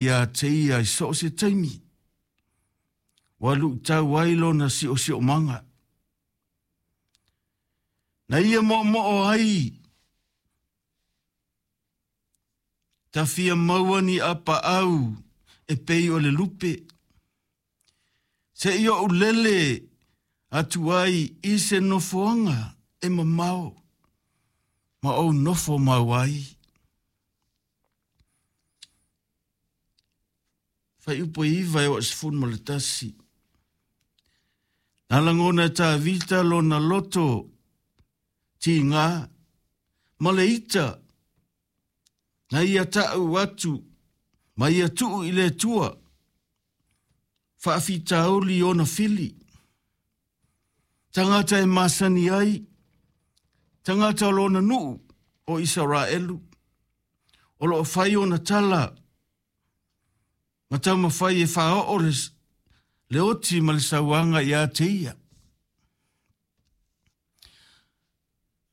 Iā te ia i so o se taimi, ua luʻitau ai lona siosiomaga. Na ia moomoo ai ta fia maua ni apaau e pei o le lupe, seia ou lele atu ai i se nofoaga e mamao ma ou nofo mau ai. Fuaiupu e 9 e oo i le 11. Na lagona e Tavita lona loto tigā ma le ita na ia taʻu atu ma ia tuu i le Atua faafitauli i ona fili. Tagata e masani ai, tagata o lona nuu o Isaraelu, o loo fai ona tala ma taumafai e faaoo le, le oti ma le sauaga iā te ia.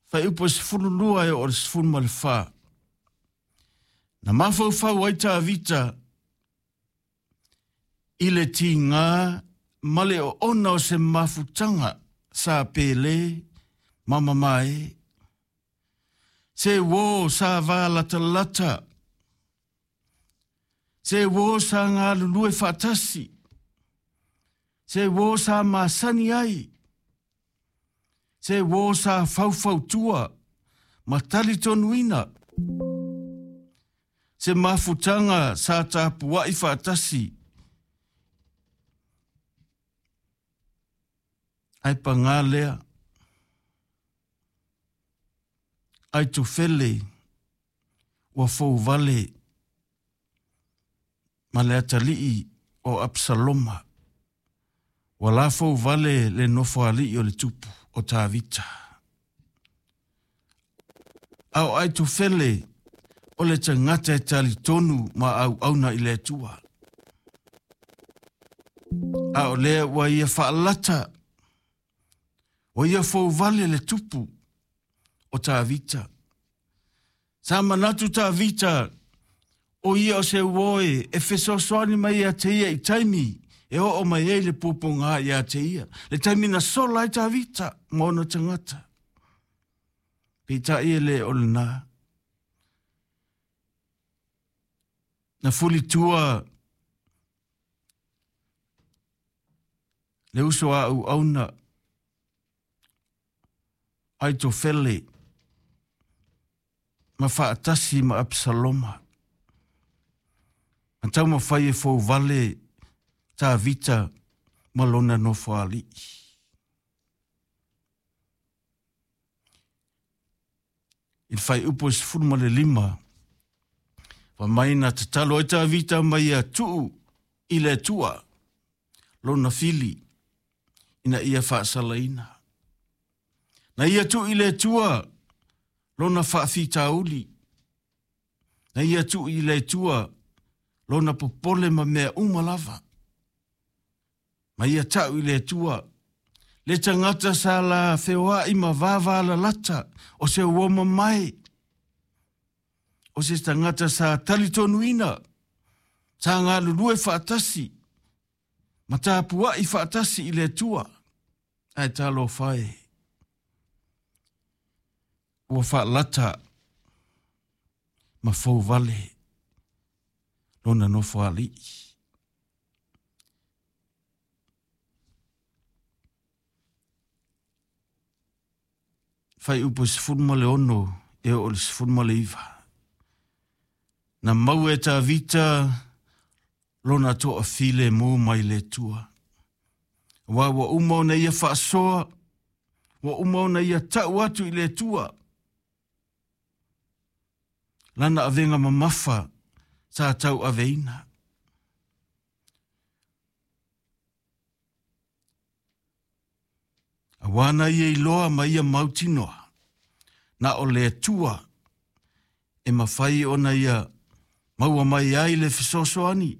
Fuaiupu e 12 e oo i le 14. Na mafaufau ai Tavita i le tigā ma le oona o se mafutaga sa pele ma mamae. Se uō sa valatalata, se uō sa galulue faatasi, se uō sa masani ai, se uō sa faufautua ma talitonuina, se mafutaga sa tapuai faatasi ae pagā lea Aitofele ua fouvale ma le atalii o Apisaloma, ua la fouvale le nofoalii o le tupu o Tavita. A o Aitofele o le tagata e talitonu ma auauna i le Atua. A o lea ua ia faalata, ua ia fouvale le tupu o Tavita. Sa manatu Tavita o ia o se uoe e fesoasoani mai ia te ia i taimi e oo mai ai le puapogā iā te ia, le taimi na sola ai Tavita ma ona tagata. Peitai e le o lenā. Na fulitua le uso a auauna Aitofele ma faatasi ma Apisaloma, ma taumafai e fouvale Tavita ma lona nofoalii. I le fuaiupu e 15, fai mai na tatalo ai Tavita ma ia tuu i le Atua lona fili ina ia faasalaina. Na ia tuu i le Atua lona faafitauli. Na ia tuu i le Atua lona popole ma mea uma lava. Ma ia tau i le Atua le tagata sa la feoai ma vavalalata o se uo mamae, o se tagata sa talitonuina, sa galulue faatasi ma tapuai faatasi i le Atua. Ae talofa e, ua faalata ma fouvale lona nofoalii. Fuaiupu e 16 e oo i le 19. Na maua e Tavita lona toafilemu mai le Atua. Aua ua uma ona ia faasoa, ua uma ona ia tau atu i le Atua lana avega mamafa sa tauaveina. Auā na ia iloa ma ia mautinoa, na o le Atua e mafai ona ia maua mai ai le fesoasoani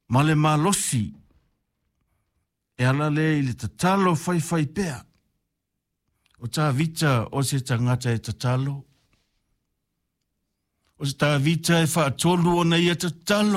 ma le malosi e ala lea i le tatalo faifai pea. O Tavita o se tagata e tatalo. O se Tavita e faatolu ona ia tatalo.